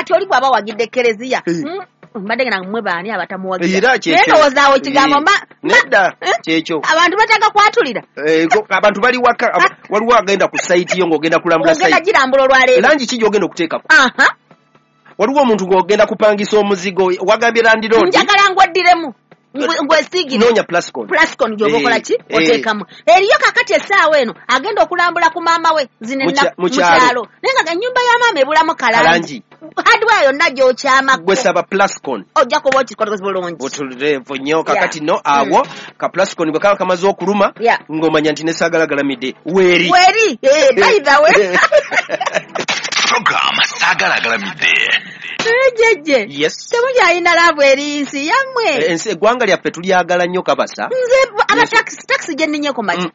Kati oli bw'aba wagidde Kereziya, mbadde nga mmwe baani abatamuwagira? Naye ndowooza awo ekigambo nedda kyekyo. Abantu bataka kwatulira. Abantu bali waka, waliwo agenda ku site yo ng'ogenda kulambula site. Ogenda girambula olwaleero. Langi ki gy'ogenda okuteekako? Waliwo omuntu ng'ogenda kupangisa omuzigo, wagambye landlord, njagala ngweddiremu, ngwesigire. Noonya Plascon. Plascon gy'oba okola ki? Oteekamu. Eriyo kakati essaawa eno agenda okulambula ku maama we zino mu kyalo. Naye nga ennyumba ya maama ebulamu kalangi. Hardware yonna gy'okyamako. Gwe saba Plascon. Ojja kuba okikoze bulungi. Butuleevu nnyo. Kakati no awo ka Plascon bwe kaba kamaze okuluma, ng'omanya nti ne Saagala Galamidde weeri. Weeri, by the way. Program Saagala Galamidde. Jjejje. Yes. Temukyalina laavu eri nsi yammwe. Ensi eggwanga lyaffe tulyagala nnyo kabasa. Nze aba taxi gye nninye ku makya.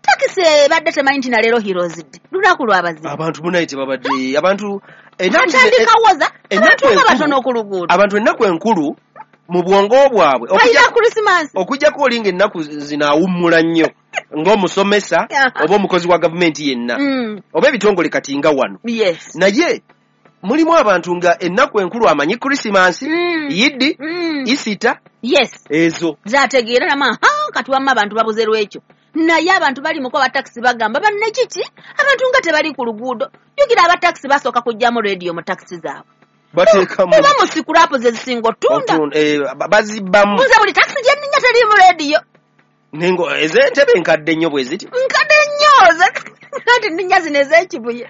Takisi ebadde temanyi nti na leero Heroes Day. Lunaku lw'abazira. Abantu munaye tebabadde abantu atandika woza abantu nga batono ku luguudo. Abantu ennaku enkulu mu bwongo bwabwe. Balina Christmas. Okujjako olinga ennaku zino awummula nnyo ng'omusomesa oba omukozi wa gavumenti yenna. Oba ebitongole kati nga wano. Yes. Naye mulimu abantu nga ennaku enkulu amanyi Christmas, Yidi, Easter. Yes. Ezo. Zategeera nama kati wamma abantu babuze lwekyo. Naye abantu bali muko abatakisi bagamba banne kiki? Abantu nga tebali ku luguudo. Jjukira abatakisi basooka kujjamu radio mu takisi zaabwe. Bateekamu. Oba mu sikulapu ze zisinga otunda. Bazibbamu. Nze buli takisi gye nninnya teriimu radio. Nengo ez'entebe nkadde nnyo bwe ziti. Nkadde nnyo. Kati nninnya zino ez'ekibuye.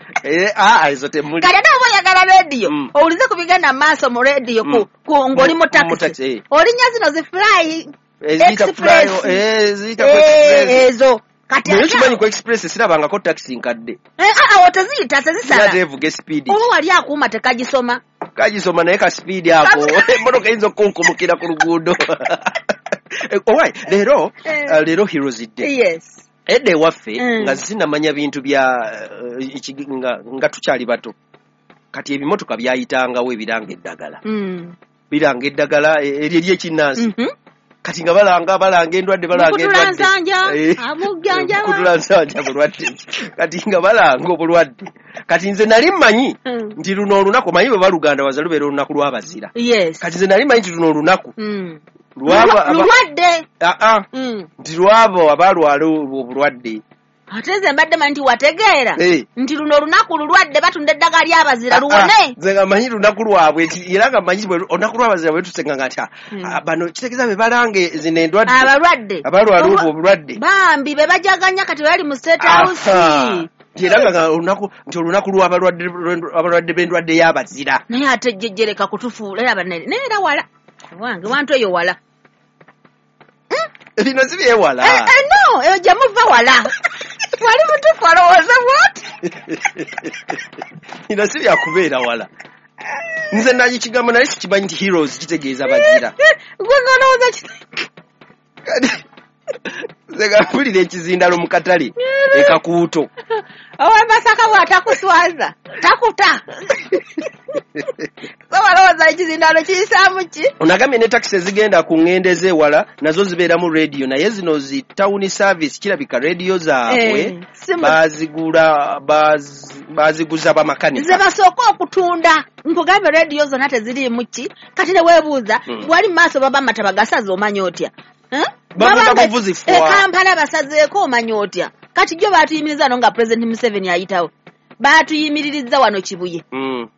Ezo temuli. Kati ate oba oyagala radio, owulize ku bigenda mu maaso mu radio ng'oli mu takisi. Olinnya zino zi Fly Express. Ezo. Kati naye kimanyi ku Express sirabangako takisi nkadde. Awo teziyita, tezisala. Ate evuga speed. Oba wali akuuma tekagisoma. Kagisoma naye ka speed ako. Emmotoka eyinza okukunkumukira ku luguudo. Owai, leero leero Heroes Day. Yes. Edda ewaffe nga sinamanya bintu bya nga tukyali bato. Kati ebimotoka byayitangawo ebiranga eddagala. Biranga eddagala eryo ery'ekinnansi. Kati nga balanga endwadde, balanga endwadde. Mukutulansanja bulwadde. Kati nga balanga obulwadde. Kati nze nali mmanyi nti luno olunaku, manyi bwe baluganda waza lubeera olunaku lw'abazira. Yes. Kati nze nali mmanyi nti luno olunaku lulwadde. Nti lwabo abalwala obulwadde. Ate nze mbadde manyi nti wategeera nti luno olunaku lulwadde batunda eddagala ly'abazira luwone. Nze nga mmanyi lunaku lwabwe, era nga mmanyi olunaku lw'abazira bwe tusenga nga nti bano kitegeeza be balange zino endwadde. Abalwadde. Abalwala obwo obulwadde. Bambi be bajaganya kati bali mu State House. Era nga olunaku nti olunaku lw'abalwadde b'endwadde y'abazira. Naye ate jjejjereka kutufuula era bannange. Naye era wala. Wange wantu eyo wala. Bino si byewala. No, eyo gye muva wala. Wali mutuufu alowooza bw'ati. Bino si byakubeera wala. Nze naye kigambo naye sikimanyi nti Heroes kitegeeza bazira. Gwe ng'olowooza ki? Nze nga mpulira ekizindalo mu katale ekakuuto. Owe Masaka bw'atakuswaza, takuta. So walowooza ekizindalo kiyisaamu ki? Onagambye ne takisi ezigenda ku ŋŋendo ez'ewala nazo zibeeramu radio, naye zino zi town service kirabika radio zaabwe bazigula baziguza bamakanika. Ze basooka okutunda. Nkugambye radio zonna teziriimu ki? Kati ne weebuuza wali mu maaso baba amataba gasaze omanya otya? Kampala basazeeko omanya otya? Kati jjo baatuyimiriza no nga President Museveni ayitawo. Baatuyimiririza wano Kibuye.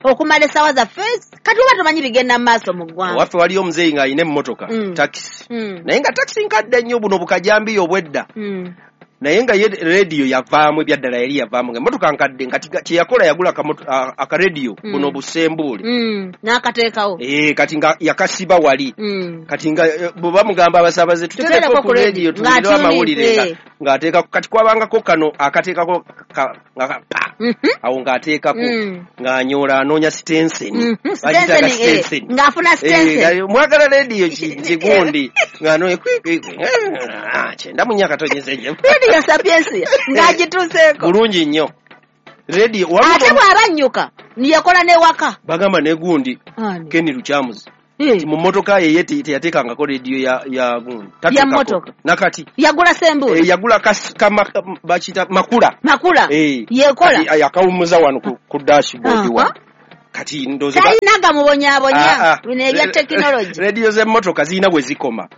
Okumala essaawa zaffe kati oba tomanyi bigenda mu maaso mu ggwanga. Waffe waliyo omuzeeyi ng'alina emmotoka takisi. Naye nga takisi nkadde nnyo buno bukajambiya obwedda. Naye nga ye radio yavaamu ebyaddala yali yavaamu ng'emmotoka nkadde nga kye yakola yagula akarediyo buno busembuule. N'akateekawo. Kati nga yakasiba wali. Kati nga bwe bamugamba abasaabaze tuteereko ku radio tuwulire amawulire ng'ateekako kati kwabangako kano akateekako nga pa awo ng'ateekako ng'anyoola anoonya sitenseni. Bagiyita sitenseni. Ng'afuna sitenseni. Mwagala radio kigundi ng'anoonya kwi 94 katonyeze nnyo. Radio Sapiensia ng'agituuseeko. Bulungi nnyo. Radio ate bw'abannyuka niyekola n'ewaka. Bagamba ne gundi Ken Lukyamuzi. Mu mmotoka ye teyateekangako radio ya gundi. Ya mmotoka. Nakati. Yagula sembule. Yagula bakiyita makula. Makula. Yekola. Yakawummuza wano ku dashboard wano. Kati ndowooza Talina gamubonyaabonya, bino ebya tekinologi. Rediyo z'emmotoka zirina we zikoma.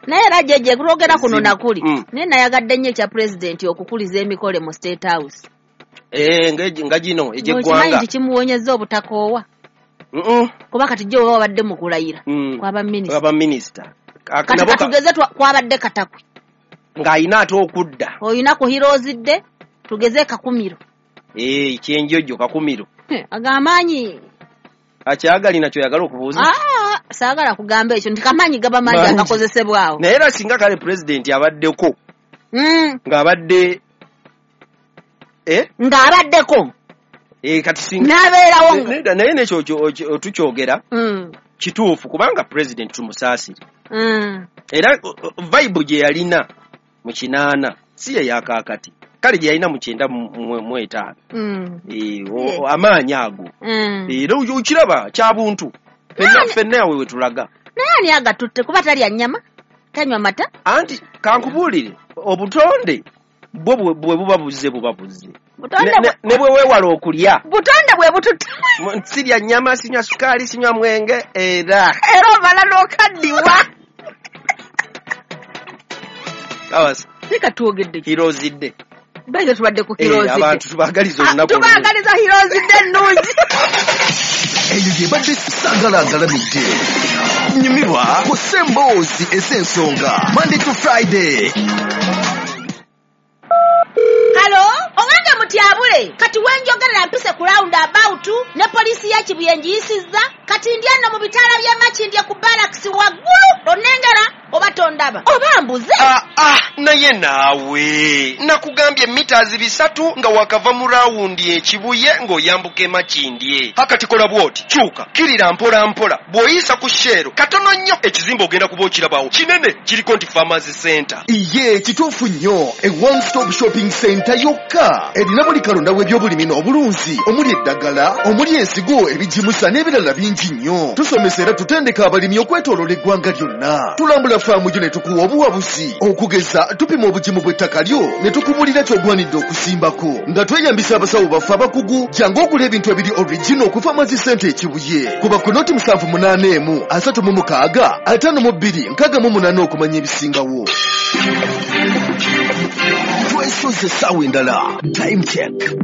Naye era jeje kulwogera kuno nakuli, naye nayagadde nnyo ekya pulezidenti okukuliza emikolo mu State House. Nga gino egy'eggwanga. Okimanyi nti kimuwonyezza obutakoowa? Kuba kati jjo oba wabadde mu kulayira kwaba minisita. Kwaba minisita. Kati katugeze kwabadde Katakwi. Ng'ayina ate okudda. Oyina ku Heroes Day, tugeze Kakumiro. Kyenjojo Kakumiro. Agamaanyi. Akyagalina kyoyagala okubuuza? Saagala kugamba ekyo nti kamaanyi gaba mangi agakozesebwawo. Naye era singa kale pulezidenti abaddeko. Ng'abadde Ng'abaddeko. Kati singa n'abeerawo. Naye n'ekyo tukyogera kituufu kubanga pulezidenti tumusaasire. Era vibe gye yalina mu 80 si ye yakaakati. Kale gye yalina mu 95. Amaanyi ago. Era okiraba kya buntu. Ffenna awe we tulaga. Naye ani agatutte kuba talya nnyama, tanywa mata? Anti kankubuulire obutonde bwo bwe buba buzze buba buzze. Ne bwe weewala okulya. Butonde bwe bututte. Sirya nnyama, sinywa sukaali, sinywa mwenge era. Era omala n'okaddiwa. Kawasa. Leka twogedde. Heroes Day. Bayiza tubadde ku Heroes Day. Abantu tubaagaliza olunaku. Tubaagaliza Heroes Day ennungi. Eyo ye badde Saagala Agalamidde. Nyumirwa ku Ssemboozi ez'ensonga Monday to Friday. Halo, owange mutyabule. Kati wenjogerera mpise ku round about ne poliisi ya Kibuye ngiyisizza. Kati ndi eno mu bitaala by'e Makindye ku barracks waggulu. Onnengera oba tondaba oba mbuze. Naye naawe nakugambye mita 300 nga wakava mu rawundi e Kibuye ng'oyambuka e Makindye. Akati kola bw'oti, kyuka kirira mpola mpola, bw'oyisa ku Shell katono nnyo ekizimbe ogenda kuba okirabawo kinene kiriko nti Farmers Center. Iye kituufu nnyo, e one stop shopping center yokka erina buli kalonda w'ebyobulimi n'obulunzi omuli eddagala, omuli ensigo, ebigimusa n'ebirala bingi nnyo. Tusomesa era tutendeka abalimi okwetooloola eggwanga lyonna. Tulambula faamu yo ne tukuwa obuwabuzi, okugeza tupima obugimu bw'ettaka lyo ne tukubulira ky'ogwanidde okusimbako nga tweyambisa abasawo baffe abakugu. Jangu ogula ebintu ebiri original ku Farmers Center e Kibuye. Kuba ku noti 781 36 52 68 okumanya ebisingawo. Twesoze essaawa endala. Time check.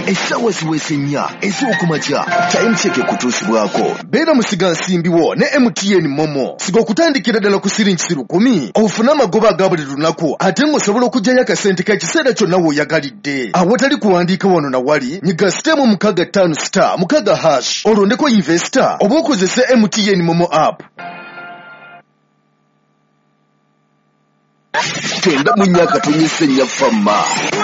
Essaawa ziweze 4 ez'okumakya. Time check ekutuusibwako. Beera musigansimbiwo ne MTN Momo. Siga okutandikira ddala ku siringi 10,000 ofune amagoba aga buli lunaku ate ng'osobola okuggyayo akasente k'ekiseera kyonna w'oyagalidde. Awatali kuwandiika wano na wali, nyiga star 65 *6# olondeko investor oba okozese MTN Momo app. 94.4 Fama.